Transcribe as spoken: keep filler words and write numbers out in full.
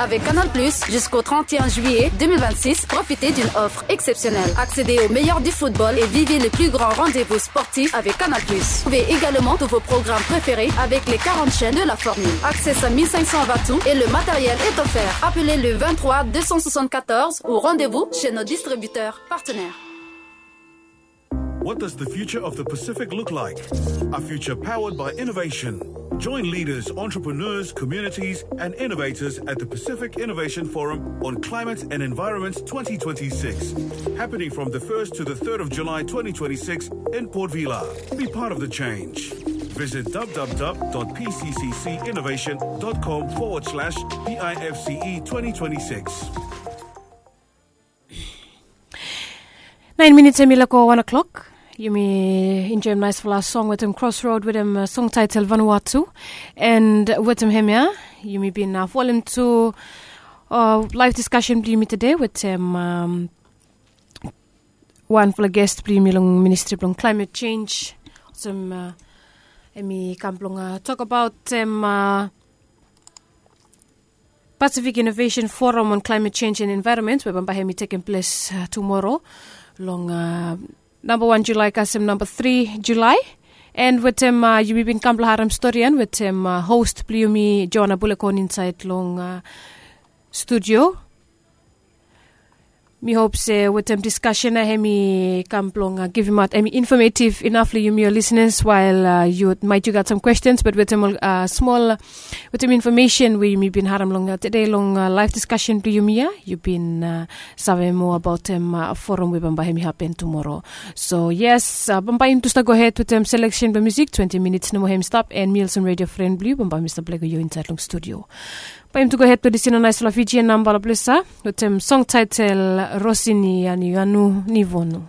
Avec Canal Plus, jusqu'au trente et un juillet deux mille vingt-six, profitez d'une offre exceptionnelle. Accédez au meilleur du football et vivez les plus grands rendez-vous sportifs avec Canal Plus. Trouvez également tous vos programmes préférés avec les quarante chaînes de la formule. Accès à mille cinq cents watts et le matériel est offert. Appelez le vingt-trois deux cent soixante-quatorze ou rendez-vous chez nos distributeurs partenaires. What does the future of the Pacific look like? A future powered by innovation. Join leaders, entrepreneurs, communities, and innovators at the Pacific Innovation Forum on Climate and Environment twenty twenty-six, happening from the first to the third of July twenty twenty-six in Port Vila. Be part of the change. Visit w w w dot p c c c innovation dot com forward slash p i f c e twenty twenty-six. Nain minits hemi lako wan o'clock. Yumi enjoim naisfala song wetem Crossroad wetem song title Vanuatu. And wetem hemia yumi bin folem tu live discussion blong yumi today wetem wanfala guest blong yumi long ministry blong climate change. Olsem hemi kam blong tok abaot Pacific Innovation Forum on Climate Change and Environment we bambae hemi tekem ples tumora long namba wan Julae kasem namba tri Julae. And wetem yumi bin kam blong harem stori ya wetem host blong yumi Joana Bulekon insaed long studio. Mi hop se wetem diskasen ya hemi kam blong givimaot hemi infamativ inaf long yumi ol lisenas wael yu maet yu gat sam kwestens bat wetem ol smol wetem infomesen we yumi bin harem long tede long laef diskasen blong yumi ya yu bin save moa abaotem forum we bambae hemi hapen tumora. So yes, bambae yumi tu stap gohed wetem seleksen blong musik. Twenti minits nomo hemi stap and mi olsem redio fren blong yu bambae mi stap lego yu insaed long studio. Bae yumi tu gohed blong lisin long naesfala Fijian namba long ples ya wetem song taetel Rosini Anianu Nivonu.